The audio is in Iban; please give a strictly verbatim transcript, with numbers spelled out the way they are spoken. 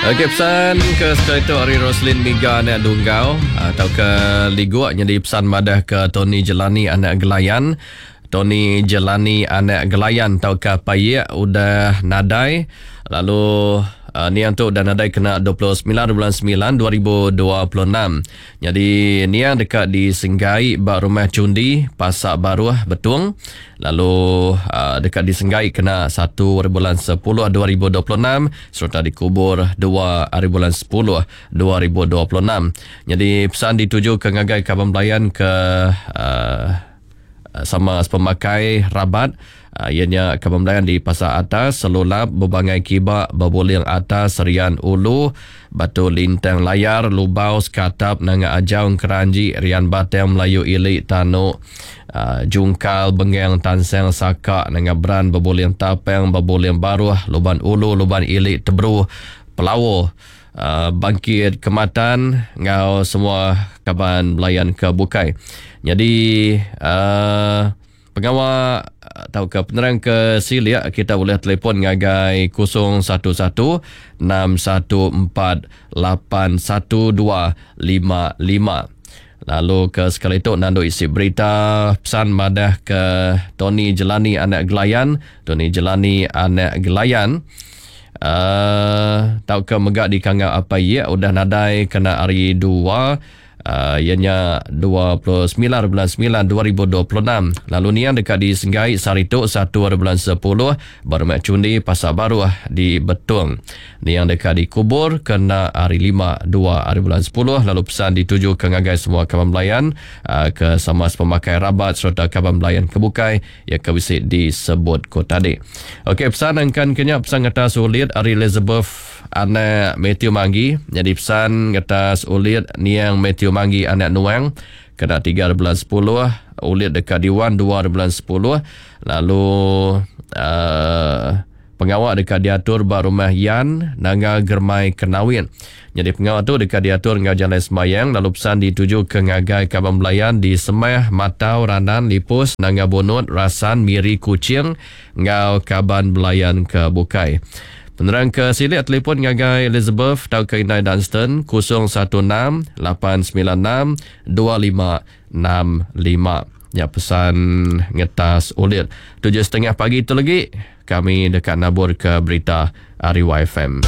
Okey, pesan ke sekali tu ari Roslin Miga anak Dunggau atau ke Liguk nyadi pesan madah ke Tony Jelani anak Gelayan. Tony Jelani anak Gelayan tau ke Payek udah nadai, lalu uh, niang tu udah nadai kena dua puluh semilan bulan semilan dua ribu dua puluh enam. Jadi niang dekat di Senggai ba rumah Cundi Pasak Baruh Betung, lalu uh, dekat di Senggai kena satu bulan sepuluh dua ribu dua puluh enam serta dikubur dua hari bulan sepuluh dua ribu dua puluh enam. Jadi pesan dituju ke ngagai kaban belayan ke uh, sama pemakai rabat, uh, ianya kaban belayan di Pasar Atas, Selulap, Bebangai Kiba, Bebuling Atas, Serian Ulu, Batu Lintang Layar, Lubau, Sekatap, Nanga Ajau, Keranji, Rian Batang, Melayu Ili, Tanuk, uh, Jungkal, Bengang, Tansang, Saka, Nanga Beran, Bebuling Tapang, Bebuling Baruh, Luban Ulu, Luban Ili, Tebru, Pelawo, Uh, Bangkit Kematan ngau semua kaban belayan ke bukai. Jadi uh, pengawa atau ke penerang ke silia kita boleh telefon ngagai kosong satu satu enam satu empat lapan satu dua lima lima. Lalu ke sekali tu nandu isi berita pesan madah ke Tony Jelani anak Gelayan, Tony Jelani anak Gelayan. Uh, tau ke megak di kangau apa ia udah nadai kena hari dua, uh, ianya dua puluh sembilan bulan sembilan dua ribu dua puluh enam. Lalu niang dekat di Senggai Sarituk satu bulan sepuluh Baru Cundi Pasar Baru di Betung. Niang dekat dikubur kena hari lima dua hari bulan sepuluh. Lalu pesan dituju ke ngagai semua kaban belayan, uh, ke sama pemakai rabat serta kaban belayan kebukai yang ke bisi disebut ko tadi. Okey, pesan angkan kenya pesan kata sulit ari Elizabeth anak Matthew Manggi. Jadi pesan atas ulit niang Matthew Manggi anak Nuang kena tiga bulan sepuluh, ulit dekat Diwan dua bulan sepuluh. Lalu uh, pengawal dekat diatur ba rumah Yan Nanga Germai Kenawin. Jadi pengawal tu dekat diatur ngau jalan semayang. Lalu pesan dituju ke ngagai kaban belayan di Semah, Matau, Ranan, Lipus, Nanga Bonot, Rasan, Miri, Kuching ngau kaban belayan ke bukai. Penerang ke silik telefon ngagai Elizabeth tau ke Inai Dunstan kosong satu enam lapan sembilan enam dua lima enam lima. Ya, pesan ngetas ulit. Tujuh setengah pagi tu lagi kami dekat nabur ke berita Ari Y F M.